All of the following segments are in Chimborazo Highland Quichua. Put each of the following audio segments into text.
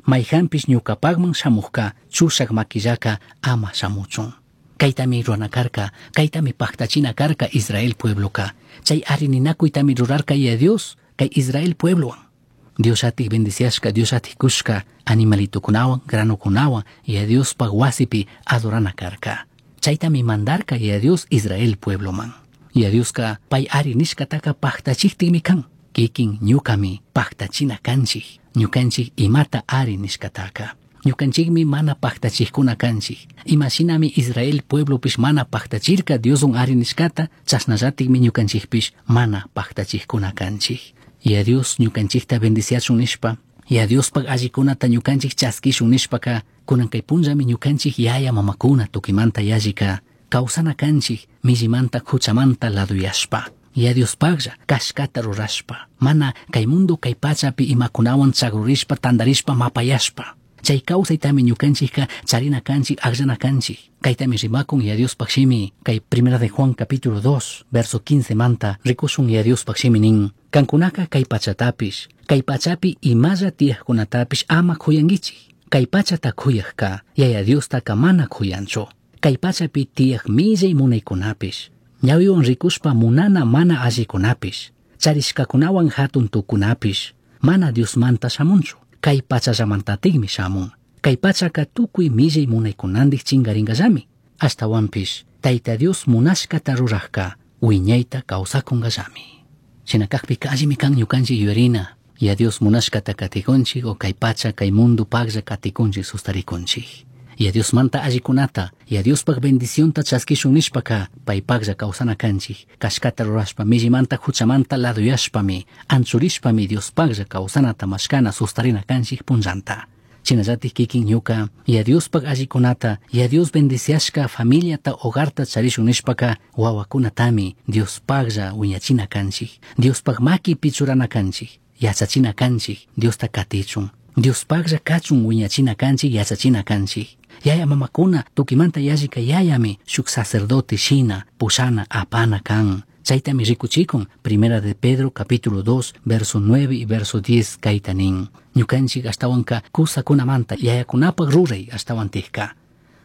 Maijanpish ñucapajman shamujca chushaj maquillaka ama shamuchun. Kaytami rurana karka, kaytami pajtachina karka Israel puebloka. Chay arininakuytami rurarka Yaya Dios kay Israel pueblowan. Dios atik bendiciashka, Dios atik kushka animalitokunawan, granokunawan Yaya Diospaj wasipi adorana karka. Chaytami mandarka Yaya Dios Israel puebloman. Yaya Dioska pay ari nishkataka pajtachiktikmi kan. Kikin ñukami pajtachina kanchik, ñukanchik imata ari nishkataka. Ñukanchikmi mana pajtachikuna kanchik. Imashinami Israel pueblopish mana pajtachirka Dioswan ari nishkata, chashnallatikmi ñukanchikpish mana pajtachikuna kanchik. Yaya Dios ñukanchikta bendiciachun nishpa, Yaya Diospaj allikunata ñukanchik chaskishun nishpaka, kunan kay punllami ñukanchik yaya mamakuna tukimanta yallika kawsana kanchik millimanta huchamanta laduyashpa. Yaya Diospajlla kashkata rurashpa, mana kay mundo kay pachapi imakunawan chagrurishpa tandarishpa mapayashpa. Chay kawsaytami ñukanchikka charina kanchik, akllana kanchik. Kaytami rimakun Yaya Diospaj shimi, kay Primera de Juan capítulo 2, verso 15 manta, rikushun Yaya Diospaj shimi nin, kankunaka kay pachatapish, kay pachapi imalla tiyajkunatapish ama kuyankichik. Kay pachata kuyajka, Yaya Diostaka mana kuyanchu. Kay pachapi tiyaj millay munaykunapish, ñawiwan rikushpa munana mana allikunapish, charishkakunawan hatun tukunapish, mana Diosmanta shamunchu. Kay pachallamantatikmi shamun. Kay pachaka tukuy millay munaykunandik chingaringallami. Ashtawanpish, Tayta Dios munashkata rurajka, wiñayta kawsakunkallami. Shina kakpika allimi kan ñukanchik yuyarina, Yaya Dios munashkata katikunchik o kay pacha, kay mundo paglla katikunchik sustarikunchik. Yaya Diosmanta allikunata, Yaya Diospaj bendicionta chaskishun nishpaka, paypaglla kawsana kanchik. Kashkata rurashpa, millimanta huchamanta laduyashpami, anchurishpami Diospaglla kawsanata mashkana sustarina kanchik punllanta. Shinallatik kikin ñuka, Yaya Diospaj allikunata, Yaya Dios bendiciashka familiata, hogarta charishun nishpaka, wawakunatami Diospaglla wiñachina kanchik. Diospaj makipi churana kanchik, yachachina kanchik, Diosta katichun. Diospaglla kachun wiñachina kanchik, yachachina kanchik. Yaya mamakuna tukimanta yallika yayami shuk sacerdote shina pushana apana kan. Chaytami rikuchikun Primera de Pedro capítulo 2 verso 9 y verso 10 kayta nin. Ñukanchik ashtawanka kusakunamanta yayakunapaj ruray ashtawantikka.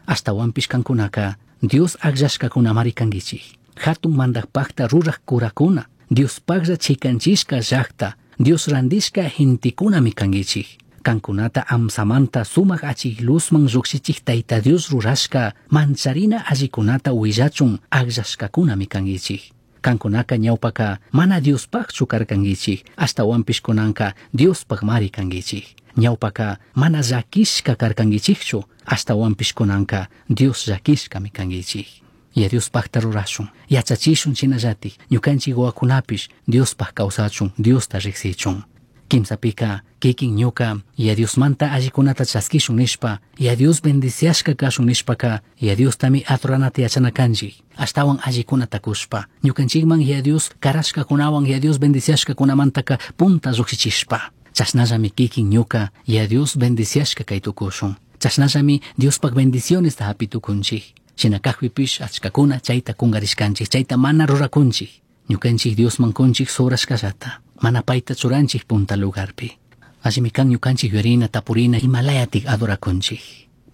Ashtawanpish kankunaka Dios akllashkakunamari kankichik. Hatun mandajpajta ruraj kurakuna, Diospajlla chikanchishka llakta, Dios randishka gentekunami kankichik. Kankunata amsamanta sumaj achik luzman llukshichik Tayta Dios rurashka mancharina allikunata willachun akllashkakunami kankichik. Kankunaka ñawpaka mana Diospajchu karkankichik, ashtawanpish kunanka Diospajmari kankichik. Ñawpaka mana llakishka karkankichikchu, ashtawanpish kunanka Dios llakishkami kankichik. Yaya Diospajta rurashun, yachachishun shinallatik, ñukanchik wawakunapish Diospaj kawsachun, Diosta riksichun. Kimsapika kikin ñuka Yaya Diosmanta allikunata chaskishun nishpa, Yaya Dios bendiciashka kashun nishpaka, Yaya Diostami adoranata yachana kanchik, ashtawan allikunata kushpa, ñukanchikman Yaya Dios karashkakunawan Yaya Dios bendiciashkakunamantaka punta llukshichishpa. Chashnallami kikin ñuka Yaya Dios bendiciashka kay tukushun. Chashnallami Diospaj bendicionesta hapi tukunchik. Shina kakpipish achkakuna chayta kungarishkanchik, chayta mana rurakunchik. Ñukanchik Diosman kunchik sobrashkallata, mana payta churanchik punta lugarpi. Allimi kan ñukanchik yuyarina, tapurina, imalayatik adorakunchik.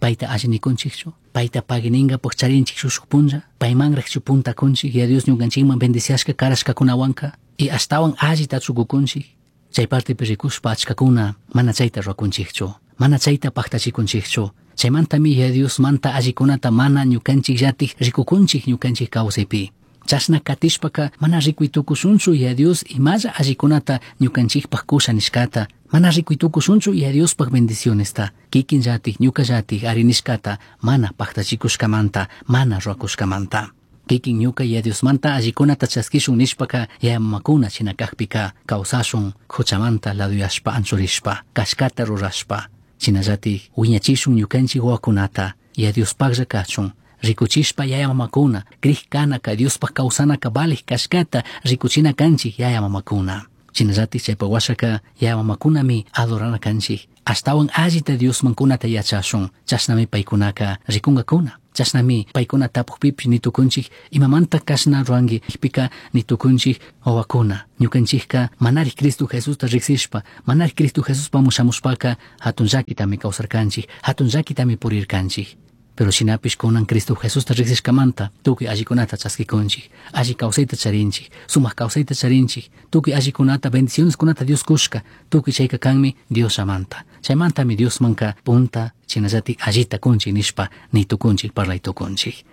Payta alli nikunchikchu, payta paguininga charinchik shushuk punlla, paymanrakchu punta kunchik, Yaya Dios ñukanchikman bendiciashka karashkakunawanka, y ashtawan allita chukukunchik. Chay partepi rikushpa achkakuna mana chayta rurakunchikchu, mana chayta pajtachikunchikchu. Chaymantami Yaya Diosmanta allikunata mana ñukanchikllatik rikukunchik ñukanchik kawsaypi. Chashna katishpaka mana rikuy tukushunchu Yaya Dios imalla allikunata ñukanchikpaj kusha nishkata, mana rikuy tukushunchu Yaya Diospaj bendicionesta, kikinllatik ñukallatik ari nishkata mana pajtachikushkamanta, mana rurakushkamanta. Kikin ñuka Yaya Diosmanta allikunata chaskishun nishpaka yaya mamakuna shina kakpika kawsashun huchamanta laduyashpa anchurishpa, kashkata rurashpa. Shinallatik wiñachishun ñukanchik wawakunata Yaya Diospajlla kachun, rikuchishpa yaya mamakuna, krij kanaka Diospaj kawsanaka valij kashkata rikuchina kanchik yaya mamakuna. Shinallatik chaypa washaka yaya mamakunami adorana kanchik, ashtawan allita Diosman kunata yachashun, chashnami paykunaka rikunkakuna. Chashnami paykuna tapuqpipish nitukunchik imamanta kashna ruranki pika nitukunchik wawakuna ñukanchikka manari Cristo Jesusta riksishpa manari Cristo Jesuspamun shamushpaka hatun llakitami kawsarkanchik hatun llakitami purirkanchik. Pero shinapish kunan Cristo Jesusta riksishkamanta tukuy allikunata chaskikunchik, alli kawsayta charinchik, sumaq kawsayta charinchik, tukuy allikunata bendicioneskunata Dios kushka, tukuy chayka kanmi Diosllamanta. Chaymantami Diosmanka punta shinallatik allita kunchik nishpa nitukunchik parlaytukunchik.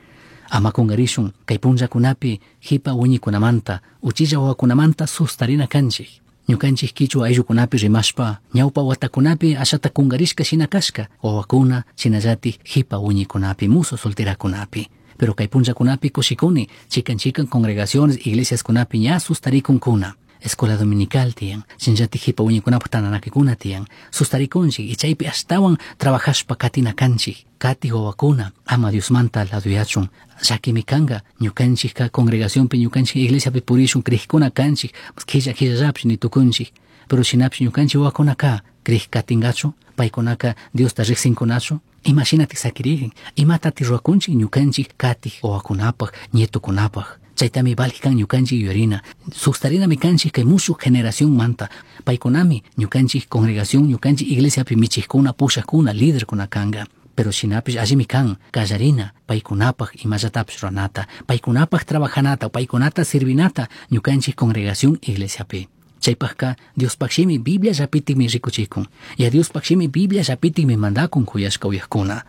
Ama kungarishun kay punllakunapi hipa wiñikunamanta, uchilla wawakunamanta sustarina kanchik. Ñukanchik kichwa ayllukunapi rimashpa ñawpa watakunapi ashata kungarishka shina kashka wawakuna shinallatik hipa wiñikunapi muso solterakunapi. Pero kay punllakunapi kushikuni chikan chikan congregaciones iglesiaskunapi ña sustarikunkuna. Escuela dominical tiyan, shinallatik hipa wiñikunapaq tantanakikuna tiyan, sustarikunchik y chaypi ashtawan trabajashpa katina kanchik, kati wawakuna ama Diosmanta laduyachun, llakimi kanka ñukanchikka congregacionpi ñukanchik iglesiapi purishun crijkuna kanchik, killa killallapish nitukunchik, pero shinapish ñukanchik wawakunaka crij katinkachu, paykunaka Diosta riqsinkunachu, imashinatik sakiririn, imatatik ruwakunchik ñukanchik katik wawakunapaq, nietukunapaq. Chaytami valij kan ñukanchik yuyarina, sustarinami kanchik kay mushuq generación manta, paykunami ñukanchik congregación, ñukanchik iglesiapi michijkuna, pushajkuna, liderkuna kanka. Pero shinapish allimi kan kallarina paykunapaq imallatapish ruranata, paykunapaq trabajanata, paykunata sirvinata ñukanchik congregación iglesiapi. Chaypaqka Diospaq shimi Biblia llapitikmi rikuchikun, y a Diospaq shimi Biblia llapitikmi mandakun kuyashka uyajkuna.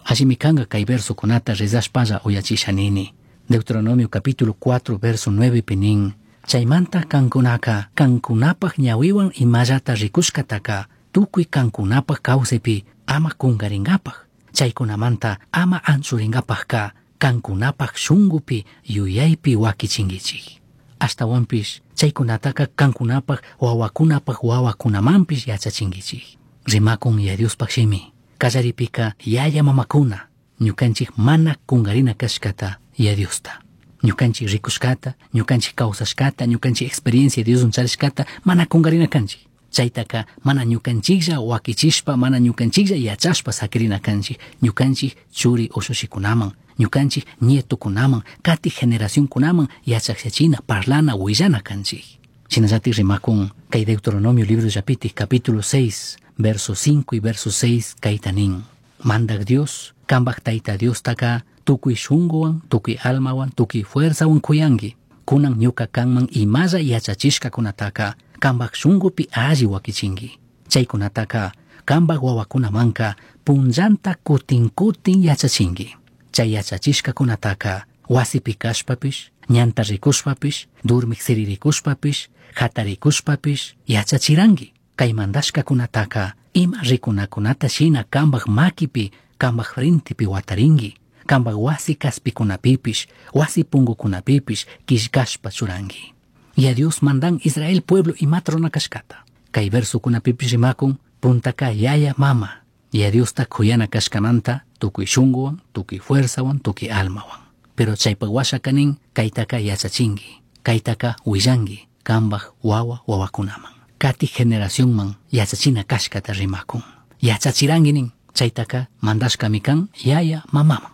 Allimi kanka kay versokunata rezashpalla uyachisha nini. Deuteronomio capítulo 4 verso 9 pinin. Chaymanta kankunaka kankunapaq ñawiwan imallata rikushkataka tukuy kankunapaq kawsaypi ama kunkarinkapaq. Chaykunamanta ama anchurinkapaqka kankunapaq shunkupi yuyaypi wakichinkichik. Ashtawanpish chaykunataka kankunapaq wawakunapaq wawakunamanpish yachachinkichik. Rimakun ya Diospaq shimi. Kallaripika yaya mamakuna ñukanchik mana kunkarina kashkata ya Diosta. Ñukanchik rikushkata, ñukanchik kawsashkata, ñukanchik experiencia Dioswan charishkata mana kunkarina kanchik. Chaytaka mana ñukanchiklla wakichishpa, mana ñukanchiklla yachashpa sakirina kanchik, ñukanchik churi ushushikunaman, ñukanchik nietukunaman, kati generacionkunaman yachakllachina, parlana, willana kanchik. Shinallatik rimakun kay Deuteronomio libro llapitik capítulo 6, verso 5 y verso 6 kayta nin. Mandak Dios, kambak tayta Diostaka tukuy shunkuwan, tukuy almawan, tukuy fuerzawan kuyanki. Kunan ñuka kanman imalla yachachishkakunataka kambak shunkupi alli wakichinki. Chaykunataka kambak wawakunamanka punllanta kutin kutin yachachinki. Chay yachachishkakunataka wasipi kashpapish, ñanta rikushpapish, durmik siririkushpapish, hatarikushpapish yachachiranki. Kay mandashkakunataka ima rikunakunata shina kambak makipi, kambak frentepi watarinki. Kambak wasi kaspikunapipish, wasi punkukunapipish killkashpa churanki. Y a Dios mandan Israel pueblo imata runa kashkata. Kay versokunapipish rimakun puntaka yaya mama. Y a Diosta kuyana kashkamanta tukuy shunkuwan, tukuy fuerzawan, tukuy almawan. Pero chaypak washaka nin kaytaka yachachinki, kaytaka willanki kambak wawa wawakunaman. Kati generacionman yachachina kashkata rimakun. Yachachiranki nin chaytaka mandashkami kan yaya mamaman.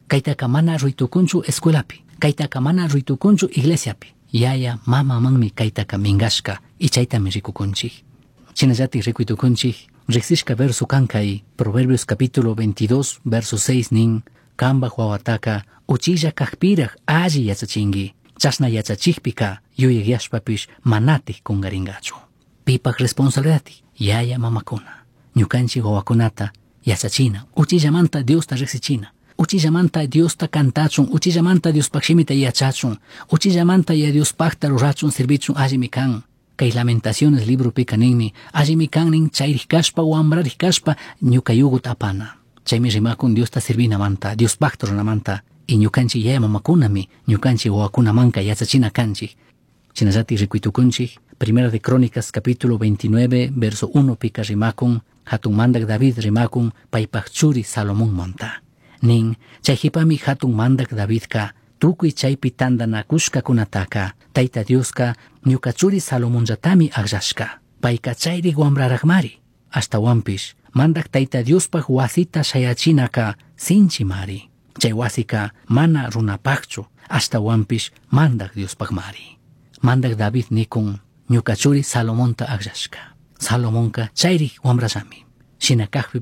Kaytaka mana ruytukunchu escuelapi, kaytaka mana ruytukunchu iglesiapi. Yaya mamamanmi kaytaka minkashka y chaytami rikukunchik. Shinallatik rikuytukunchik, riksishka verso kan kay Proverbios capítulo 22 verso 6 nin kambak wawataka uchilla kajpiraj alli yachachinki. Chashna yachachikpika yuyayashpapish manatik kunkarinkachu. Pipak responsabilidad yaya mamakuna. Ñukanchik wawakunata yachachina, uchillamanta Diosta riksichina. Uchillamanta Diosta kantachun, uchillamanta Diospaq shimita yachachun, uchillamanta ya Diospaqta rurachun, sirvichun allimi kan. Kay Lamentaciones libropika ninmi, allimi kan nin chayrik kashpa, wambrarik kashpa, ñuka yuguta apana. Chaymi rimakun Diosta sirvinamanta, Diospaqta runamanta, y ñukanchik yaya mamakunami, ñukanchik wawakunamanka yachachina kanchik. Shinallatik rikuytukunchik, Primera de Crónicas capítulo 29, verso 1 pika rimakun, hatun mandak David rimakun, paypaq churi Salomón manta. Nin, chay hipami hatun mandak Davidka, tukuy chaypi tantanakushkakunataka, Tayta Dioska ñuka churi Salomonllatami akllashka, payka chayri wambraraqmari. Ashtawanpish, mandak Tayta Diospaq wasita shayachinaka sinchimari. Chay huasica mana runapajchu, ashtahuanpish Mandaj Diospajmari. Mandaj David nikun ñuca churi Salomonta agllashca. Salomonca chayrij huambrallami. Shina cajpipish.